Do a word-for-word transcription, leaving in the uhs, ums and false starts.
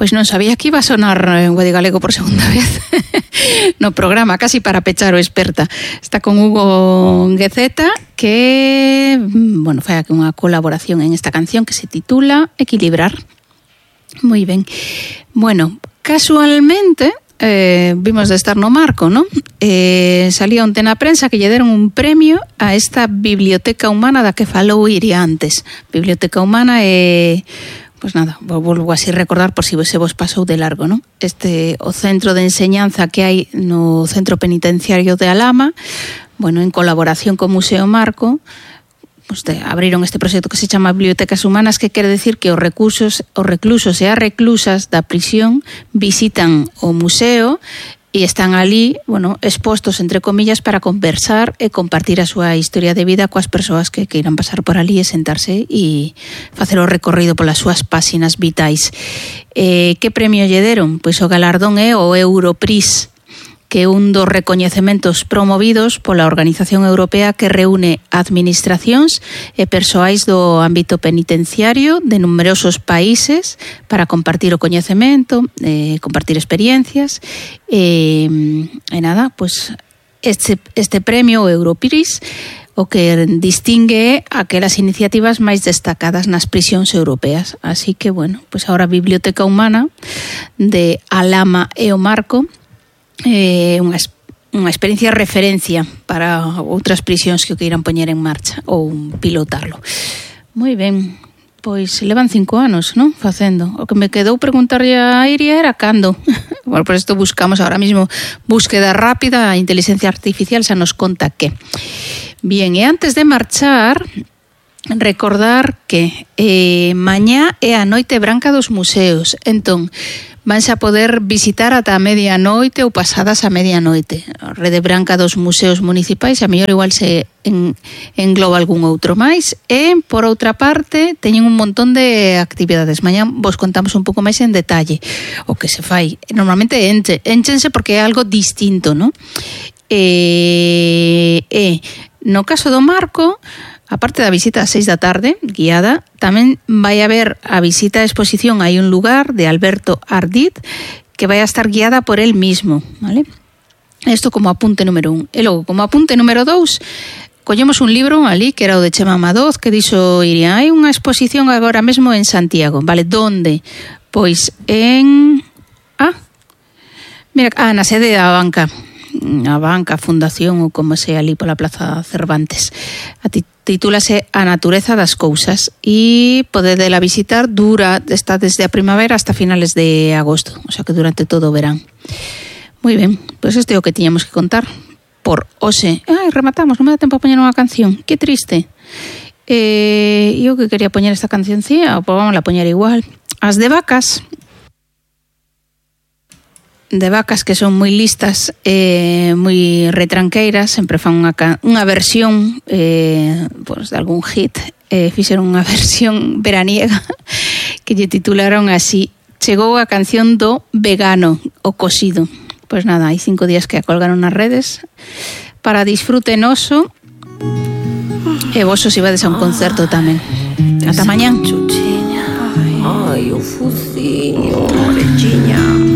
Pois non sabía que iba a sonar en Guadi Galego por segunda vez no programa, casi para pechar o experta. Está con Hugo Gueceta, que, bueno, fai aquí unha colaboración en esta canción que se titula Equilibrar. Moi ben. Bueno, casualmente eh, vimos de estar no Marco, ¿no? Eh, salía onte na prensa que lle deron un premio a esta biblioteca humana da que falou Iria antes. Biblioteca humana é, pues nada, volvo así recordar por si se vos pasou de largo, ¿no? Este, o centro de enseñanza que hai no centro penitenciario de Alhama, bueno, en colaboración co Museo Marco, pues de, abriron este proxecto que se chama Bibliotecas Humanas, que quere decir que os recursos, os reclusos e as reclusas da prisión visitan o museo e están ali, bueno, expostos, entre comillas, para conversar e compartir a súa historia de vida coas persoas que queiran pasar por ali e sentarse e facer o recorrido polas súas páxinas vitais. Eh, que premio lle deron? Pois o galardón é o Europris, que é un dos recoñecementos promovidos pola Organización Europea que reúne administracións e persoais do ámbito penitenciario de numerosos países para compartir o coñecemento, eh, compartir experiencias e, e nada, pues este, este premio, o Europris, o que distingue aquelas iniciativas máis destacadas nas prisións europeas. Así que, bueno, pues ahora a Biblioteca Humana de Alhama e o Marco, Eh, unha, unha experiencia de referencia para outras prisións que o queiran poñer en marcha ou pilotarlo. Moi ben, pois levan cinco anos, non? Facendo. O que me quedou preguntarlle a Iria era cando. Bueno, por isto buscamos ahora mismo búsqueda rápida, a inteligencia artificial xa nos conta que. Bien, e antes de marchar, recordar que eh, mañá é a Noite Branca dos Museos. Entón, vanse a poder visitar ata a medianoite ou pasadas a medianoite. A Rede Branca dos Museos Municipais, a mellor igual se en, engloba algún outro máis. E, por outra parte, teñen un montón de actividades. Mañá vos contamos un pouco máis en detalle o que se fai. Normalmente enche, enchense porque é algo distinto, non? E, e no caso do Marco, aparte da visita ás seis da tarde, guiada, tamén vai haber a visita á exposición Hai un lugar, de Alberto Ardit, que vai a estar guiada por él mismo, ¿vale? Isto como apunte número un. E logo, como apunte número dous, collemos un libro ali, que era o de Chema Madoz, que dixo Iria, hai unha exposición agora mesmo en Santiago, vale, donde? Pois en... Ah, mira, ah, na sede da banca, a banca, a fundación ou como sea ali pola Plaza Cervantes. A ti titúlase A natureza das cousas e podedela visitar, dura, está desde a primavera hasta finales de agosto, o sea que durante todo o verán. Moi ben, pois pues este é o que tiñamos que contar por hoxe. Ai, rematamos, non me dá tempo a poñer unha canción, que triste. Eh, eu que quería poñer esta cancioncía, pois vamos a poñer igual. As de Vacas, de Vacas, que son moi listas, eh, moi retranqueiras, sempre fan unha, unha versión eh, pues, de algún hit, eh, fixeron unha versión veraniega que lle titularon así: Chegou a canción do vegano, o cosido. Pois nada, hai cinco días que a colgaron nas redes para disfrute noso, e vos os ibades a un concerto tamén. Ata mañán. Ai, o focinho, orechiña.